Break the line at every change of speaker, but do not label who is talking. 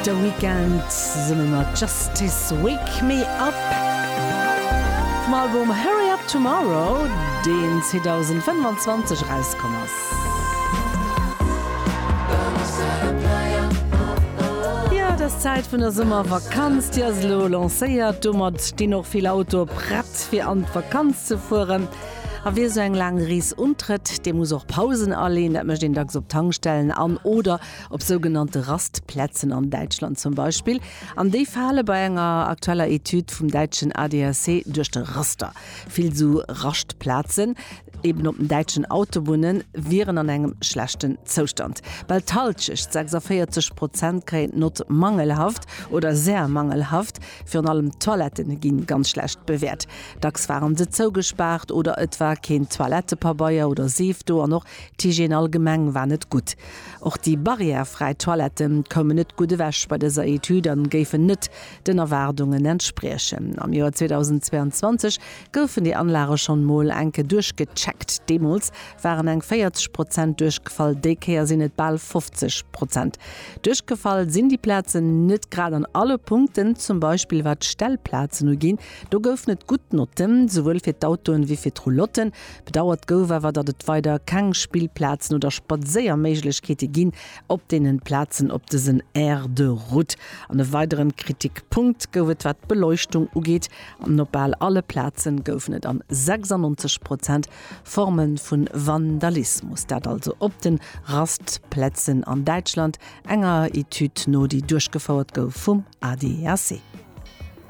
The Weeknd zesumme mat Justice, Wake Me Up vum Album Hurry Up Tomorrow, deen 2025 erauskomm ass. Jo, et ass d'Zäit vun der Summervakanz, déi ass elo lancéiert. Domat stinn och vill Autoe prett fir an d'Vakanz ze fueren. A wie sou eng laang Rees untrëtt, dee muss och Pausen aleen. Dat mécht een dacks op Tankstellen an oder op sougenannte Rastplätzen an Däitschland zum Beispill. An déi fale bei enger aktueller Etüd vum däitschen ADAC duerch de Raster. Vill sou Raschtplazen, eben op den däitschen Autobunne, wieren an engem schlechten Zoustand. Bal d'Hallschecht, 46 Prozent, kréien d'Nott mangelhaft oder sehr mangelhaft. Virun allem d'Toilette ginn ganz schlecht bewäert. Dacks waren se zougespaart oder et war keen Toilettepabeier oder Seef do an och d'Hygiène allgemeng war net gutt. Och déi barrièrefräi Toilette koumen net gutt ewech bei dëser Etüd an géifen net den Erwaardungen entspriechen. Am Joer 2022 goufen déi Anlage schonn mol enke duerchgecheckt. Deemools waren eng 40 Prozent duerchgefall, déi Kéier sinn et bal 50 Prozent. Duerchgefall sinn déi Plazen net grad an alle Punkten, zum Beispill wat d'Stellplazen uginn. Do goufen et gutt Notten, souwuel fir d'Autoen wéi fir d'Roulotten. Bedauert gouf awer, datt et weider keng Spillplazen oder Spadséierméiglechkeete ginn op deenen Plazen op dësen Aire de route. An e weideren Kritikpunkt gouf et wat d'Beleuchtung ugeet, an op bal alle Plazen goufen et an 96 Prozent Forme vun Vandalismus. Dat also op den Rastplätzen an Däitschland, enger Etüd no déi duerchgefouert gouf vum ADAC.